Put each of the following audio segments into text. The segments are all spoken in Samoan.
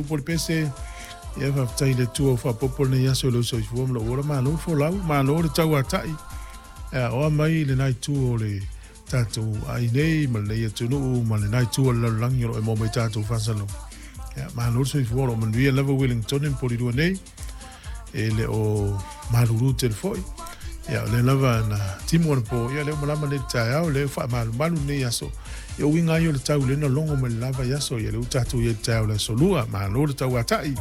upu o le pese. Ia, faafetai i le Atua ua faaopoopo lenei aso i lou soifua ma lou ola. Malo le folau, malo le tauatai. Ia, oa mai lena itu o le tatou aai nei ma lenei atunuu ma lena itu o le lalolagi o lo o e maua mai tatou faasalaga. Ia, malo le soifua, o lo o manuia lava Wellington ma Polilua nei. E le o malulu tele foi. Ia, o lea lava na timu anapo, ia lea ua malama nei i le taeao, lea ua faamalumalu lenei aso. Ia, o uiga lava ia o le tau lea na logo mai le la vaiaso, ia lea ua tatou i ai i le taeao o le aso Lua. Malo le tauatai.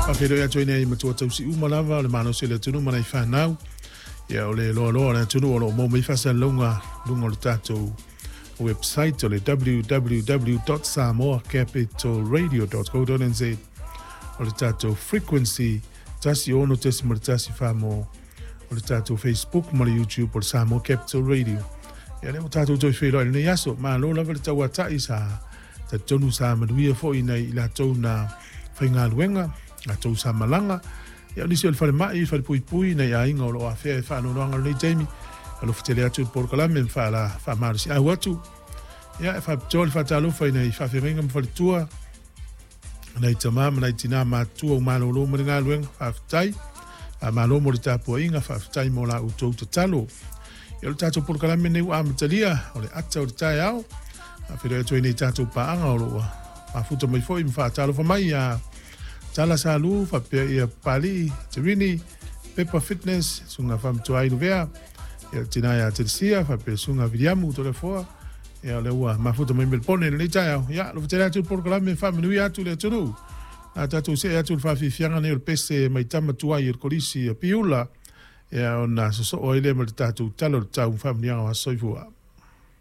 Faafeiloai atu ai nei matua tausi uma lava o le malosi o le atunuu ma nai fanau. Ia, o le loaloa o le atunuu o lo o maua mai faasalalauga luga o le tatou website o le www.samoacapitalradio.co.nz o le tatou frequency 16.14 mo o le tatou Facebook ma le YouTube o le Samoa Capital Radio. Ia lea ua tatou toe feiloai i lenei aso. Malo lava le tauatai sa talitonu sa manuia foi nai i latou na faigaluega, latou sa malaga. Ia o nisi o le falemai, falepuipui, nai aiga o lo o afea e faanoanoaga i lenei taimi. Alofa tele atu i le polokalame ma faala faamalosiau atu. Ia e faapitoa le faatalofa i nai faafeagaiga ma faletua, nai tama ma nai tinā matutua ua malolo mai le galuega, faafetai. Faamalo mo le tapuaiga, faafetai mo la outou tatalo. Ia o le tatou polokalame nei ua amatalia, o le ata o le taeao. Faafeiloai atu ai nei tatou paaga o lo o mafuta mai foi ma faatalofa mai ia Tala Salu faapea ia Papalii, Terini, Pepa Fitness, Susuga Faamatuai Luvea, ia le tina ia Telesia faapea Susuga Viliamu Toleafoa, ia o lea ua mafuta mai Melepone i lenei taeao. Ia, alofa tele atu i le polokalame e faamanuia atu le atunuu. A tatou see atu i le faafiafiaga nei o le pese mai tama tuai o le Kolisi a Piula, ia ona sosoo ai lea ma le tatou Tala o le Tau ma faamanuiaga o aso soifua.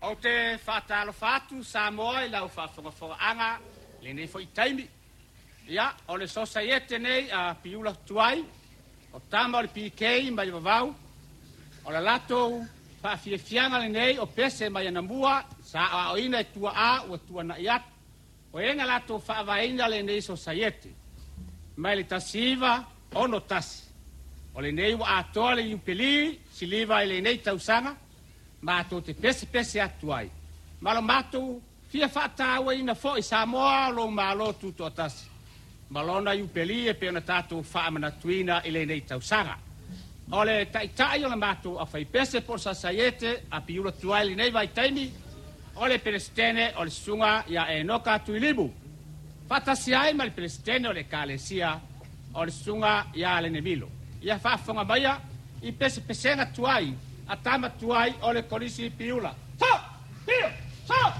Ou te faatalofa atu Samoa i lau faafogafogaaga i lenei foi taimi. Ia, o le sosaiete nei a Piula Tuai, o tama o le PK mai Vavau, o le latou faafiafiaga lenei o pese mai anamua sa aoaoina e tuaa ua tuanai atu, o e na latou faavaeina lenei sosaiete mai le 1961. O lenei ua atoa le Iupeli siliva i lenei tausaga matou te pesepese atu ai ma lo matou Fia faatauaina foi Samoa o lou Malo Tutoatasi ma lona Iupeli e pei ona tatou faamanatuina i lenei tausaga. O le Taitai o le matou Aufaipese po o le Sasaiete a Piula Tuai i lenei vaitaimi, o le Peresetene o le Susuga ia Enoka Tuilimu, faatasi ai ma le Peresetene o le Ekalesia o le Susuga ia Lenemilo. Ia faafofoga maia i pesepesega tuai a tama tuai o le Kolisi Piula. Sa! Pio! Sa!